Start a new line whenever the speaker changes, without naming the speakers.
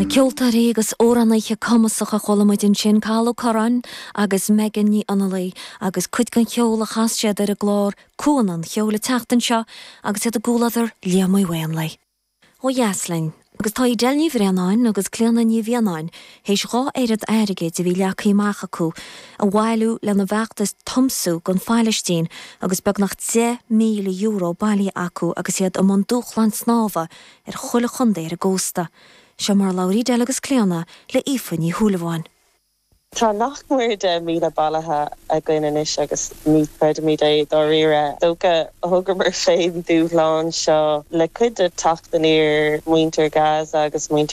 Na ceoltóirí agus amhránaithe cumasacha a chuala muid ansin, Cathal Ó Curráin agus Megan Ní Fhionnghaile agus cuid den cheol a chas siad ar an gclár Cuan an Cheoil an tseachtain seo agus iad i gcomhluadar Liam Uí Mhaonlaí. Ó dheas linn, agus tá Edel Ní Bhraonáin agus Clíona Ní Mhianáin théis 2 oiread airgid a bhí leagtha amach acu a bhailiú lena bhfeachtas tiomsú don Phailistín agus beagnach €10,000 bailithe acu agus iad i mbun dúshláin snámha ar chuile chontae ar an gcósta. Seo mar a labhair Edel agus Clíona le Aoife Ní Shúilleabháin.
Tá nach mór 10,000 bailithe againn anois agus ní chreidimid é dáiríre. Dócha thugamar féin dúshlán seo le cuid de teacht aniar muintir Gaza agus muintir.